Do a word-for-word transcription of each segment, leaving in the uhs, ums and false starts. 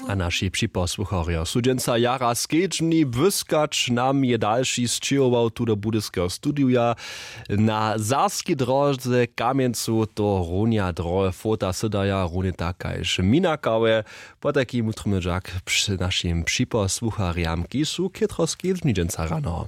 A naši připosłucharjo su dźensa jara skedźbni. Błyskać nam je dalši sćěhował tu do budyskeho studija na zarskej dróze kamjencu. To runja drohe fota sydaja runje tak kaž minakałe. Potajki mutrmy dźak při našim připosłucharjam kiž su chětro skedźbni dźensa rano.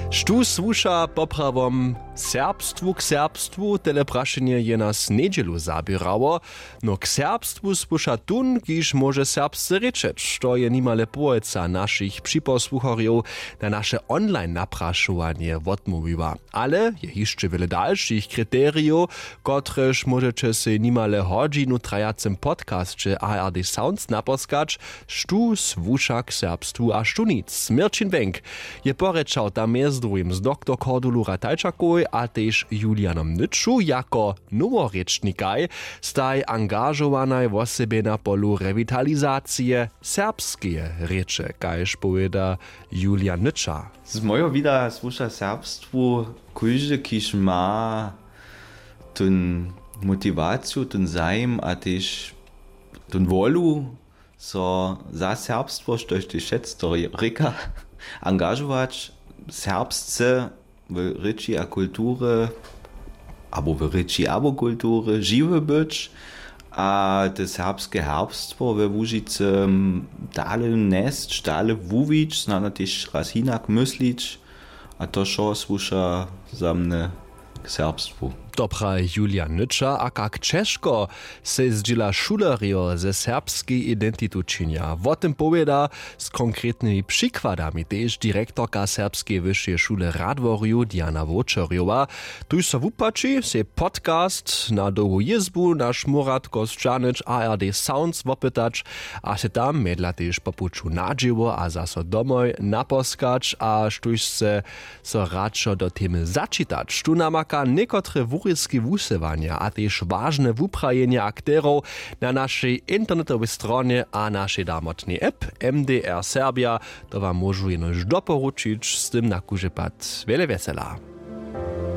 Štó słuša poprawom serbstwu k serbstwu? Tele prašenje je nas njedźelu zaběrało. No k serbstwu słuša tón kiž móže serbsce rěčeć. To je nimale połojca našich připosłucharjow na naše online naprašowanje wotmołwiła. Ale je hišće wjele dalšich kriterijow, kotrež móžeće sej nimale hodźinu trajacym podcasće ard sounds naposkać. Štó słuša k serbstwu a štó nic? Měrćin wenk je porěčał tam mjez druhim z doktor kordulu ratajčakowej a tež julianom nyču jako noworěčnikaj staj angažowanaj wosebje na polu rewitalizacije serbskeje rěče, kaž powěda julian nyča. Z mojeho wida słuša serbstwu kóždy kiž ma tón motiwaciju, tón zajim a tež tón wolu so za serbstwo štož tež šec to rěka angažować serbsce w rěči a kulturje abo w rěči abo kulturje žiwy być a te serbske herbstwo we łužicy dale njesć dale wuwić snano tež raz hinak myslić. A to wšo słuša za mnje k serbstwu. To praji julian nyča a kak ćežko sej zdźěla šulerjo ze serbskej identitu činja wo tym powěda z konkretnymi přikładami tež direktorka serbskeje wyšeje šule radworju diana wočerjowa. Tuž so wupłaći sej podcast na dołhu jězbu na šmóratko sćahnyć ard sounds wopytać a sej tam mjedla tež po puću na dźěło a zaso domoj naposkać a štóž sce so radšo do temy začitać tu namaka někotre wurězki wusyłanja a tež wažne wuprajenja akterow na našej internetowej stronje a našej damotnej app. M D R serbja to wam móžu jenož doporučić z tym na kužepad wjele wjesela.